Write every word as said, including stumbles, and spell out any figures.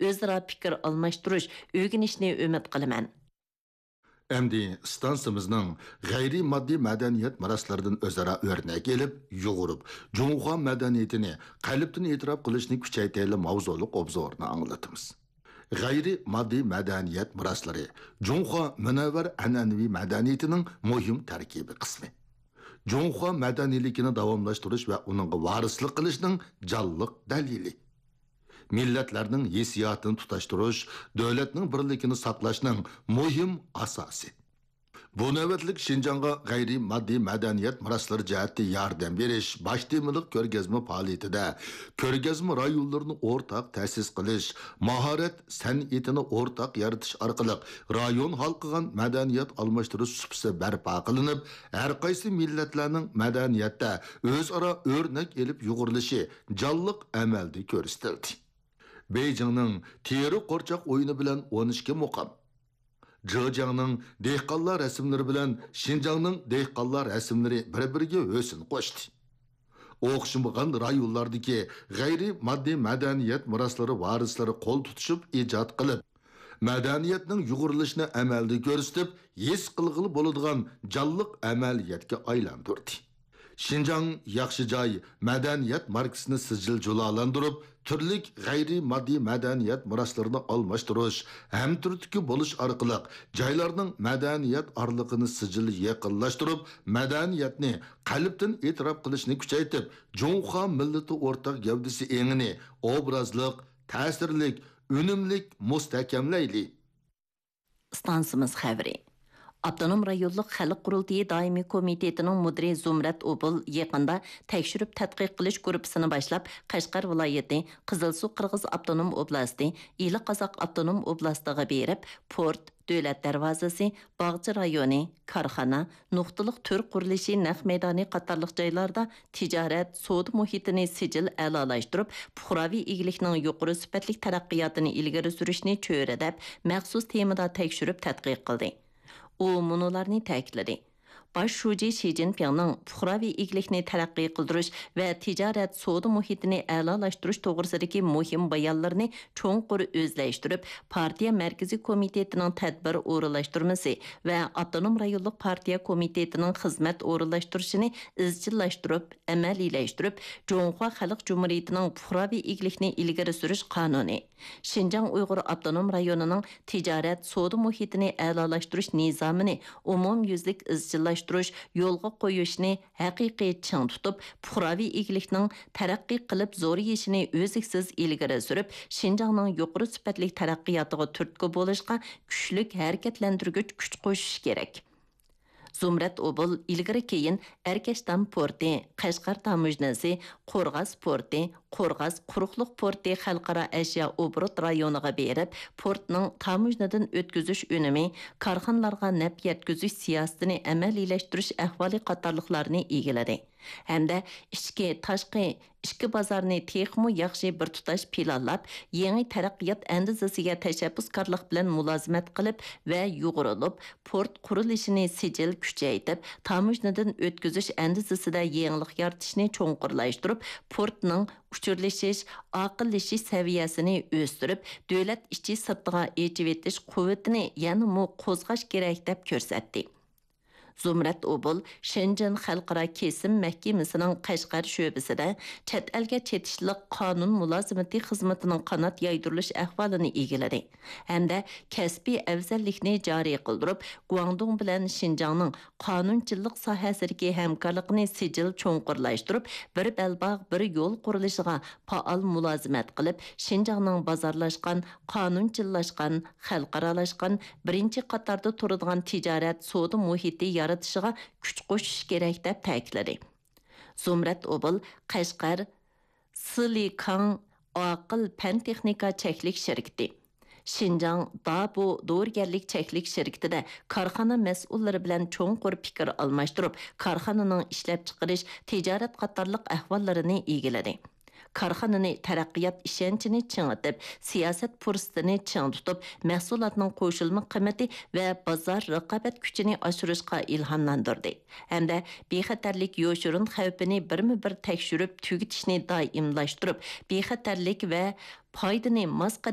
ئۆزئارا پىكىر ئالماشتۇرۇش، ئۆگىنىشنى ئۈمىد قىلىمەن. ئەمدى ئىستانسىمىزنىڭ غەيرىي ماددىي مەدەنىيەت مىراسلىرىدىن ئۆزئارا ئۆرنەك ئېلىپ، يۇغۇرۇپ، جۇڭخۇا مەدەنىيىتىنى قەلبتىن ئېتىراپ قىلىشنى كۈچەيتەيلى ماۋزۇلۇق ئوبزورىنى ئاڭلىتىمىز. غەيرىي ماددىي مەدەنىيەت مىراسلىرى جۇڭخۇا مۇنەۋۋەر ئەنئەنىۋى مەدەنىيىتىنىڭ مۇھىم تەركىبىي قىسمى. جۇڭخۇا مەدەنىيلىكىنى داۋاملاشتۇرۇش ۋە ئۇنىڭغا ۋارىسلىق قىلىشنىڭ جانلىق دەلىلى. مىللەتلەرنىڭ ھېسسىياتىنى تۇتاشتۇرۇش، دۆلەتنىڭ بىرلىكىنى ساقلاشنىڭ مۇھىم ئاساسى. بۇ نۆۋەتلىك شىنجاڭغا غەيرىي ماددىي مەدەنىيەت مىراسلىرى جەھەتتە ياردەم بېرىش باش تېمىلىق كۆرگەزمە پائالىيىتىدە، كۆرگەزمە رايونلىرىنى ئورتاق تەسىس قىلىش، ماھارەت سەنئىتىنى ئورتاق يارىتىش ئارقىلىق رايون ھالقىغان مەدەنىيەت ئالماشتۇرۇش سۇپىسى بەرپا قىلىنىپ، ھەرقايسى مىللەتلەرنىڭ مەدەنىيەتتە ئۆزئارا ئۆرنەك ئېلىپ يۇغۇرۇلۇشى جانلىق ئەمەلدە كۆرسىتىلدى. بېيجىڭنىڭ تېرە قورچاق ئويۇنى بىلەن ئون ئىككى مۇقام، جېجياڭنىڭ دېھقانلار رەسىملىرى بىلەن شىنجاڭنىڭ دېھقانلار رەسىملىرى بىر-بىرىگە ھۆسن قوشتى. ئوخشىمىغان رايونلاردىكى غەيرىي ماددىي مەدەنىيەت مىراسلىرى ۋارىسلىرى قول تۇتۇشۇپ ئىجاد قىلىپ، مەدەنىيەتنىڭ يۇغۇرۇلۇشىنى ئەمەلدە كۆرسىتىپ، ھېس قىلغىلى بولىدىغان جانلىق ئەمەلىيەتكە ئايلاندۇردى. شىنجاڭ ياخشى جاي مەدەنىيەت ماركىسىنى سىجىل جۇلالاندۇرۇپ، تۈرلۈك غەيرىي ماددىي مەدەنىيەت مىراسلىرىنى ئالماشتۇرۇش، ھەمتۈرتكە بولۇش ئارقىلىق جايلارنىڭ مەدەنىيەت ئارىلىقىنى سىجىل يېقىنلاشتۇرۇپ، مەدەنىيەتنى قەلبتىن ئېتىراپ قىلىشنى كۈچەيتىپ، جۇڭخۇا مىللىتى ئورتاق گەۋدىسى ئېڭىنى ئوبرازلىق، تەسىرلىك، ئۈنۈملۈك مۇستەھكەملەيلى. ئىستانسىمىز خەۋىرى. ئاپتونوم رايونلۇق خەلق قۇرۇلتىيى دائىمىي كومىتېتىنىڭ مۇدىرى زۇمرەت ئوبۇل يېقىندا تەكشۈرۈپ تەتقىق قىلىش گۇرۇپپىسىنى باشلاپ، قەشقەر ۋىلايىتى، قىزىلسۇ قىرغىز ئاپتونوم ئوبلاستى، ئىلى قازاق ئاپتونوم ئوبلاستىغا بېرىپ، پورت، دۆلەت دەرۋازىسى، باغچە رايونى، كارخانا، نۇقتىلىق تۈر قۇرۇلۇشى نەق مەيدانى قاتارلىق جايلاردا تىجارەت، سودا مۇھىتىنى سىجىل ئەلالاشتۇرۇپ، پۇقراۋى ئىگىلىكنىڭ يۇقىرى سۈپەتلىك تەرەققىياتىنى ئىلگىرى سۈرۈشنى چۆرىدەپ، مەخسۇس تېمىدا تەكشۈرۈپ تەتقىق قىلدى. ئۇ مۇنۇلارنى تەكىتلىدى: باش شۇجى شى جىنپىڭنىڭ پۇقراۋى ئىگىلىكنى تەرەققىي قىلدۇرۇش ۋە تىجارەت، سودا مۇھىتىنى ئەلالاشتۇرۇش توغرىسىدىكى مۇھىم بايانلىرىنى چوڭقۇر ئۆزلەشتۈرۈپ، پارتىيە مەركىزىي كومىتېتىنىڭ تەدبىر ئورۇنلاشتۇرمىسى ۋە ئاپتونوم رايونلۇق پارتىيە كومىتېتىنىڭ خىزمەت ئورۇنلاشتۇرۇشىنى ئىزچىللاشتۇرۇپ، ئەمەلىيلەشتۈرۈپ، جۇڭخۇا خەلق جۇمھۇرىيىتىنىڭ پۇقراۋى ئىگىلىكنى ئىلگىرى سۈرۈش قانۇنى، شىنجاڭ ئۇيغۇر ئاپتونوم رايونىنىڭ تىجارەت، سودا مۇھىتىنى ئەلالاشتۇرۇش نىزامىنى ئومۇميۈزلۈك ئىزچىللاشتۇرۇش، يولغا قويۇشنى ھەقىقىي چىڭ تۇتۇپ، پۇقراۋى ئىگىلىكنىڭ تەرەققىي قىلىپ زورىيىشىنى ئۈزلۈكسىز ئىلگىرى سۈرۈپ، شىنجاڭنىڭ يۇقىرى سۈپەتلىك تەرەققىياتىغا تۈرتكە بولۇشقا كۈچلۈك ھەرىكەتلەندۈرگۈچ كۈچ قوشۇش كېرەك. زۇمرەت ئوبۇل ئىلگىرى كېيىن ئەركەشتام پورتى، قەشقەر تاموژنىسى، قورغاس پورتى، قورغاس قۇرۇقلۇق پورتى خەلقئارا ئەشيا ئوبوروت رايونىغا بېرىپ، پورتنىڭ تاموژنىدىن ئۆتكۈزۈش ئۈنۈمى، كارخانىلارغا نەپ يەتكۈزۈش سىياسىتىنى ئەمەلىيلەشتۈرۈش ئەھۋالى قاتارلىقلارنى ئىگىلىدى ھەمدە ئىچكى، تاشقى ئىككى بازارنى تېخىمۇ ياخشى بىر تۇتاش پىلانلاپ، يېڭى تەرەققىيات ئەندىزىسىگە تەشەببۇسكارلىق بىلەن مۇلازىمەت قىلىپ ۋە يۇغۇرۇلۇپ، پورت قۇرۇلۇشىنى سىجىل كۈچەيتىپ، تاموژنىدىن ئۆتكۈزۈش ئەندىزىسىدە يېڭىلىق يارىتىشنى چوڭقۇرلاشتۇرۇپ، پورتنىڭ ئۇچۇرلىشىش، ئاقىللىشىش سەۋىيەسىنى ئۆستۈرۈپ، دۆلەت ئىچى سىرتىغا ئېچىۋېتىش قۇۋۋىتىنى يەنىمۇ قوزغاش كېرەك، دەپ كۆرسەتتى. زۇمرەت ئوبۇل شېنجېن خەلقئارا كېسىم مەھكىمىسىنىڭ قەشقەر شۆبىسىدە چەت ئەلگە چېتىشلىق قانۇن مۇلازىمىتى خىزمىتىنىڭ قانات يايدۇرۇلۇش ئەھۋالىنى ئىگىلىدى ھەمدە كەسپىي ئەۋزەللىكنى جارى قىلدۇرۇپ، گۇاڭدۇڭ بىلەن شىنجاڭنىڭ قانۇنچىلىق ساھەسىدىكى ھەمكارلىقىنى سىجىل چوڭقۇرلاشتۇرۇپ، بىر بەلباغ، بىر يول قۇرۇلۇشىغا پائال مۇلازىمەت قىلىپ، شىنجاڭنىڭ بازارلاشقان، قانۇنچىللاشقان، خەلقئارالاشقان، بىرىنچى قاتاردا تۇرىدىغان تىجارەت، سودا مۇھىتى يارىتىشىغا كۈچ قوشۇش كېرەك، دەپ تەكىتلىدى. زۇمرەت ئوبۇل قەشقەر سىلىكاڭ ئاقىل پەن تېخنىكا چەكلىك شىركىتى، شىنجاڭ دابۇ دورىگەرلىك چەكلىك شىركىتىدە كارخانا مەسئۇللىرى بىلەن چوڭقۇر پىكىر ئالماشتۇرۇپ، كارخانىنىڭ ئىشلەپچىقىرىش، تىجارەت قاتارلىق ئەھۋاللىرىنى ئىگىلىدى. كارخانىنى تەرەققىيات ئىشەنچىنى چىڭىتىپ، سىياسەت پۇرسىتىنى چىڭ تۇتۇپ، مەھسۇلاتنىڭ قوشۇلما قىممىتى ۋە بازار رىقابەت كۈچىنى ئاشۇرۇشقا ئىلھاملاندۇردى ھەمدە بىخەتەرلىك يوشۇرۇن خەۋپىنى بىرمۇبىر تەكشۈرۈپ تۈگىتىشنى دائىملاشتۇرۇپ، بىخەتەرلىك ۋە پايدىنى ماس قەدەمدە